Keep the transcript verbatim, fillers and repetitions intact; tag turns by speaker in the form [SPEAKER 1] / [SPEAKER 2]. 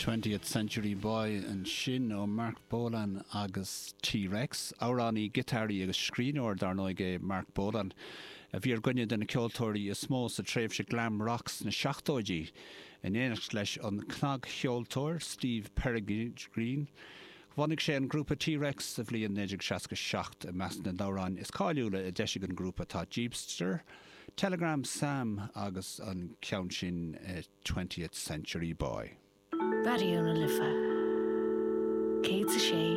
[SPEAKER 1] Twentieth Century Boy ansin ó Marc Bolan agus T-Rex, amhránaí giotáraí agus scríbhneoir dar ndóigh é Marc Bolan, a bhí ar dhuine de na ceoltóirí is mó sa tréimhse glam rock sna seachtóidí, in éineacht leis an cnagcheoltóir Steve Peregrine. Bhunaigh sé an grúpa T-Rex sa bhliain naoi déag seasca seacht i measc na n-amhrán is cáiliúla a d'eisigh an grúpa tá Jeepster, Telegram Sam agus an ceann sin Twentieth Century Boy.
[SPEAKER 2] Raidió na Life céad a sé